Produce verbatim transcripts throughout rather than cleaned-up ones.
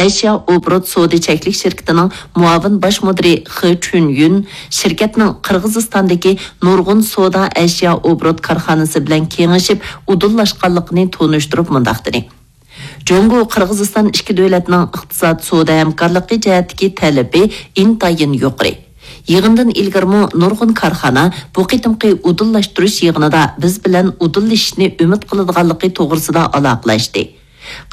ئەشيا ئوبوروت سودا چەكلىك شىركىتىنىڭ مۇئاۋىن باش مۇدىرى خې چۈنيۈن شىركەتنىڭ قىرغىزىستاندىكى نۇرغۇن سودا ئەشيا ئوبوروت كارخانىسى بىلەن كېڭىشىپ ئۇدۇللاشقانلىقىنى تونۇشتۇرۇپ مۇنداق دېدى: جۇڭگو قىرغىزىستان ئىككى دۆلەتنىڭ ئىقتىساد، سودا ھەمكارلىقى جەھەتتىكى تەلىپى ئىنتايىن يۇقىرى. يىغىندىن ئىلگىرىمۇ نۇرغۇن كارخانا بۇ قېتىمقى ئۇدۇللاشتۇرۇش يىغىنىدا بىز بىلەن ئۇدۇللىشىشنى ئۈمىد قىلىدىغانلىقى توغرىسىدا ئالاقىلەشتى.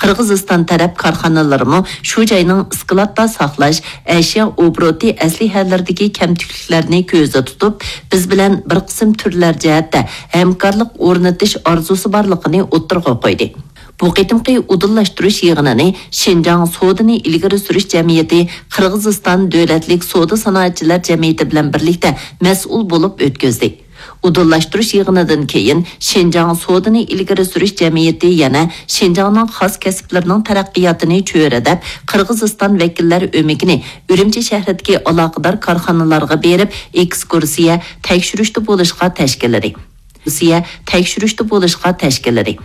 قىرغىزىستان تەرەپ كارخانىلىرىمۇ شۇ جاينىڭ ئىسكىلاتتا ساقلاش، ئەشيا ئوبوروتى ئەسلىھەلىرىدىكى كەمتۈكلۈكلەرنى كۆزدە تۇتۇپ، بىز بىلەن بىر قىسىم تۈرلەر جەھەتتە ھەمكارلىق ئورنىتىش ئارزۇسى بارلىقىنى ئوتتۇرىغا قويدى. بۇ قېتىمقى ئۇدۇللاشتۇرۇش يىغىنىنى شىنجاڭ سودىنى ئىلگىرى سۈرۈش جەمئىيىتى قىرغىزىستان دۆلەتلىك سودا سانائەتچىلەر جەمئىيىتى بىلەن بىرلىكتە مەسئۇل بولۇپ ئۆتكۈزدى. ئۇدۇللاشتۇرۇش يىغىنىدىن كېيىن، شىنجاڭ سودىنى ئىلگىرى سۈرۈش جەمئىيىتى يەنە شىنجاڭنىڭ خاس كەسىپلىرىنىڭ تەرەققىياتىنى چۆرىدەپ، قىرغىزىستان ۋەكىللەر ئۆمىكىنى ئۈرۈمچى شەھىرىدىكى ئالاقىدار كارخانىلارغا بېرىپ، ئېكسكۇرسىيە، تەكشۈرۈشتە بولۇشقا تەشكىللىدى. ئېكسكۇرسىيە، تەكشۈرۈشتە بولۇشقا تەشكىللىدى.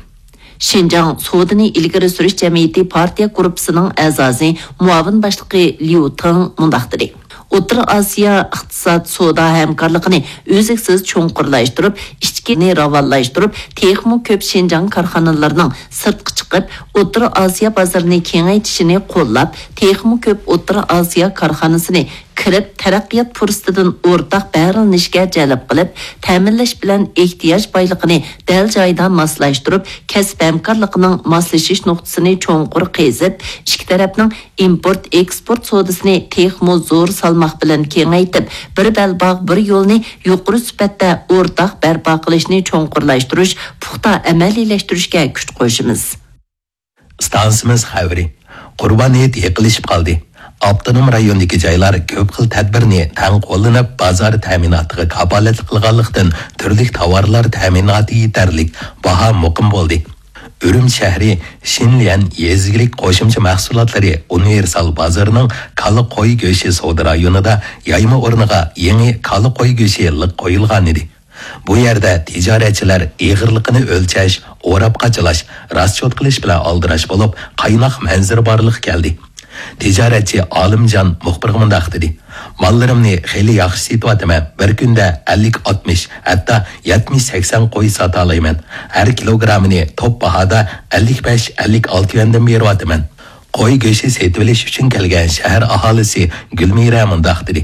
شىنجاڭ سودىنى ئىلگىرى سۈرۈش جەمئىيىتى پارتىيە گۇرۇپپىسىنىڭ ئەزاسى، مۇئاۋىن باشلىقى ليۇ تېڭ مۇنداق دېدى: ئوتتۇرا ئاسىيا ئىقتىساد، سودا ھەمكارلىقىنى ئۈزلۈكسىز چوڭقۇرلاشتۇرۇپ، ئىچكىنى راۋانلاشتۇرۇپ، تېخىمۇ كۆپ شىنجاڭ كارخانىلىرىنىڭ سىرتقا چىقىپ، ئوتتۇرا ئاسىيا بازىرىنى كېڭەيتىشىنى قوللاپ، تېخىمۇ كۆپ ئوتتۇرا ئاسىيا كارخانىسىنى كىرىپ، تەرەققىيات پۇرسىتىدىن ئورتاق بەھرىلىنىشكە جەلپ قىلىپ، تەمىنلەش بىلەن ئېھتىياج بايلىقىنى دەل جايىدا ماسلاشتۇرۇپ، كەسىپ ھەمكارلىقىنىڭ ماسلىشىش نۇقتىسىنى چوڭقۇر قېزىپ، ئىككى تەرەپنىڭ ئىمپورت، ئېكسپورت سودىسىنى تېخىمۇ زور سالماق بىلەن كېڭەيتىپ، بىر بەلباغ، بىر يولنى يۇقىرى سۈپەتتە ئورتاق بەرپا قىلىشنى چوڭقۇرلاشتۇرۇش، پۇختا ئەمەلىيلەشتۈرۈشكە كۈچ قوشىمىز. ئىستانسىمىز خەۋىرى. قۇربان ھېيت يېقىنلىشىپ قالدى. ئاپتونوم رايوندىكى جايلار كۆپ خىل تەدبىرنى تەڭ قوللىنىپ، بازار تەمىناتىغا كاپالەتلىك قىلغانلىقتىن، تۈرلۈك تاۋارلار تەمىناتى يېتەرلىك، باھا مۇقىم بولدى. ئۈرۈمچى شەھىرى شىنليەن يېزا ئىگىلىك قوشۇمچە مەھسۇلاتلىرى ئۇنىۋېرسال بازىرىنىڭ كالا قوي گۆشى سودا رايونىدا يايما ئورنىغا يېڭى كالا قوي گۆشى لىق قويۇلغانىدى. بۇ يەردە تىجارەتچىلەر ئېغىرلىقىنى ئۆلچەش، ئوراپ قاچىلاش، راسچوت قىلىش بىلەن ئالدىراش بولۇپ، قايناق مەنزىرە بارلىققا كەلدى. تىجارەتچى ئالىمجان مۇخبىرغا مۇنداق دېدى: ماللىرىمنى خېلى ياخشى سېتىۋاتىمەن، بىر كۈندە ئەللىك، ئاتمىش، ھەتتا يەتمىش، سەكسەن قوي ساتالايمەن. ھەر كىلوگرامىنى توپ باھادا ئەللىك بەش، ئەللىك ئالتە يۈەندىن بېرىۋاتىمەن. قوي گۆشى سېتىۋېلىش ئۈچۈن كەلگەن شەھەر ئاھالىسى گۈلمىرە مۇنداق دېدى: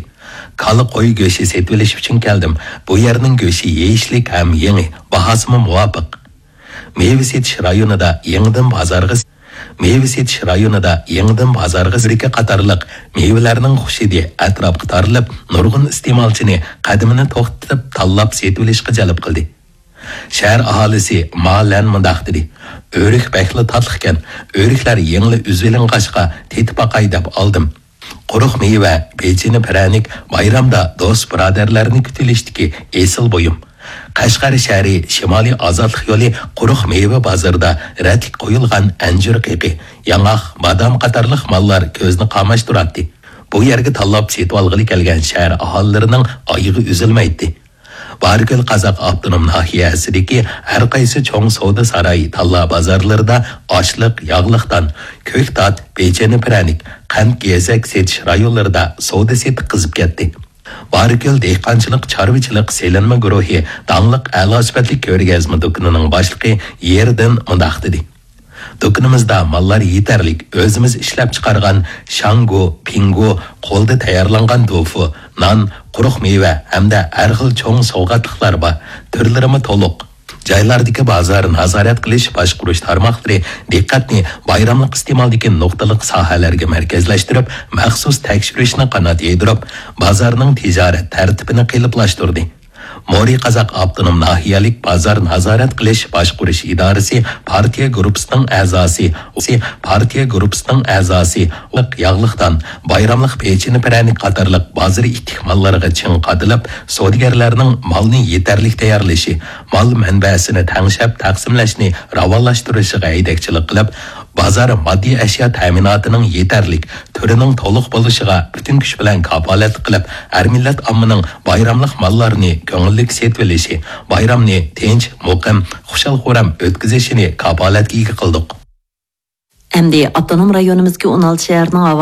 كالا قوي گۆشى سېتىۋېلىش ئۈچۈن كەلدىم. بۇ يەرنىڭ گۆشى يېيىشلىك ھەم يېڭى، باھاسىمۇ مۇۋاپىق. مېۋە سېتىش رايونىدا يېڭىدىن بازارغا، مېۋە سېتىش رايونىدا يېڭىدىن بازارغا سۈركە قاتارلىق مېۋىلەرنىڭ خۇش ھىدى ئەتراپقا تارىلىپ، نۇرغۇن ئىستېمالچىنى قەدىمىنى توختىتىپ تاللاپ سېتىۋېلىشقا جەلپ قىلدى. شەھەر ئاھالىسى ما لەن مۇنداق دېدى: ئۆرۈك بەكلا تاتلىقكەن، ئۆرۈكلەر يېڭىلا ئۈزۈۋېلىنغاچقا تېتىپ باقاي دەپ ئالدىم. قۇرۇق مېۋە، پېچىنە پىرەنىك بايرامدا دوست-بۇرادەرلەرنى كۈتۈۋېلىشتىكى ئېسىل بۇيۇم. قەشقەر شەھىرى شىمالىي ئازادلىق يولى قۇرۇق مېۋە بازىرىدا رەتلىك قويۇلغان ئەنجۈر قېقى، ياڭاق، بادام قاتارلىق ماللار كۆزنى قاماشتۇراتتى. بۇ يەرگە تاللاپ سېتىۋالغىلى كەلگەن شەھەر ئاھالىلىرىنىڭ ئايىغى ئۈزۈلمەيتتى. بارىكۆل قازاق ئاپتونوم ناھىيەسىدىكى ھەر قايسى چوڭ سودا ساراي، تاللا بازارلىرىدا ئاشلىق، ياغلىق دان، كۆكتات، پېچىنە پىرەنىك، قەنت، گېزەك سېتىش رايونلىرىدا سودا سېتىق قىزىپ كەتتى. بارىكۆل دېھقانچىلىق چارۋىچىلىق سېلىنما گۇرۇھى داڭلىق ئەلا سۈپەتلىك كۆرگەزمە دۇكىنىنىڭ باشلىقى يېردىن مۇنداق دېدى: دۇكىنىمىزدا ماللار يېتەرلىك، ئۆزىمىز ئىشلەپچىقارغان شاڭگو، پىڭگو، قولدا تەييارلانغان دوفۇ، نان، قۇرۇق مېۋە ھەمدە ھەر خىل چوڭ سوۋغاتلىقلار بار. تۈرلىرىمۇ تولۇق. جايلاردىكى بازار نازارەت قىلىش، باشقۇرۇش تارماقلىرى دىققەتنى بايراملىق ئىستېمالدىكى نۇقتىلىق ساھەلەرگە مەركەزلەشتۈرۈپ، مەخسۇس تەكشۈرۈشنى قانات يايدۇرۇپ، بازارنىڭ تىجارەت تەرتىپىنى قېلىپلاشتۇردى. مورى قازاق ئاپتونوم ناھىيەلىك بازار نازارەت قىلىش باشقۇرۇش ئىدارىسى پارتىيە گۇرۇپپىسىنىڭ ئەزاسى، پارتىيە گۇرۇپپىسىنىڭ ئەزاسى، ياغلىق دان، بايراملىق پېچىنە پىرەنىك قاتارلىق بازار ئىتتىك ماللىرىغا چىڭ قادىلىپ، سودىگەرلەرنىڭ مالنى يېتەرلىك تەييارلىشى، مال مەنبەسىنى تەڭشەپ تەقسىملەشنى راۋانلاشتۇرۇشىغا ھەيدەكچىلىك قىلىپ، بازار ماددىي ئەشيا تەمىناتىنىڭ يېتەرلىك، تۈرىنىڭ تولۇق بولۇشىغا پۈتۈن كۈچ بىلەن كاپالەتلىك قىلىپ، ھەر مىللەت ئاممىنىڭ بايراملىق ماللارنى كۆڭۈللۈك سېتىۋېلىشى، بايرامنى تىنچ، مۇقىم، خۇشال-خۇرام ئۆتكۈزۈشىنى كاپالەتكە ئىگە قىلدۇق. ئەمدى ئاپتونوم رايونىمىزدىكى ئون ئالتە شەھەرنىڭ ھاۋا